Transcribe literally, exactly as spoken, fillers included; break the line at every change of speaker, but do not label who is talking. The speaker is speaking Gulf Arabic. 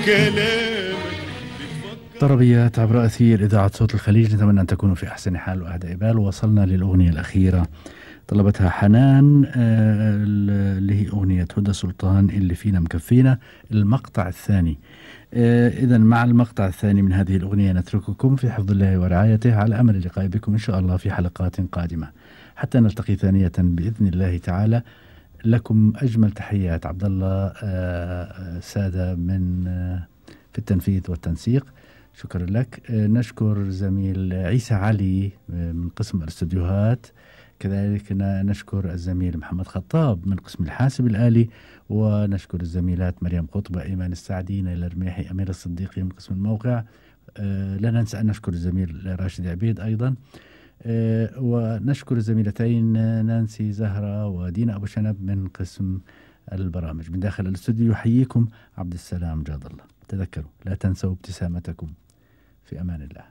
كلامك
طربيات عبر أثير إذاعة صوت الخليج. نتمنى أن تكونوا في أحسن حال وأهدى بال. وصلنا للأغنية الأخيرة طلبتها حنان آه اللي هي أغنية هدى سلطان اللي فينا مكفينا، المقطع الثاني. آه إذا مع المقطع الثاني من هذه الأغنية نترككم في حفظ الله ورعايته، على أمل اللقاء بكم إن شاء الله في حلقات قادمة حتى نلتقي ثانية بإذن الله تعالى. لكم أجمل تحيات عبد الله آه سادة من آه في التنفيذ والتنسيق. شكرا لك. نشكر زميل عيسى علي من قسم الاستوديوهات، كذلك نشكر الزميل محمد خطاب من قسم الحاسب الآلي، ونشكر الزميلات مريم قطبة، إيمان السعدي، نيل الرميحي، أمير الصديقي من قسم الموقع. لا ننسى أن نشكر الزميل راشد عبيد أيضا، ونشكر الزميلتين نانسي زهرة ودينا أبو شنب من قسم البرامج. من داخل الاستوديو يحييكم عبد السلام جاد الله. تذكروا لا تنسوا ابتسامتكم. في أمان الله.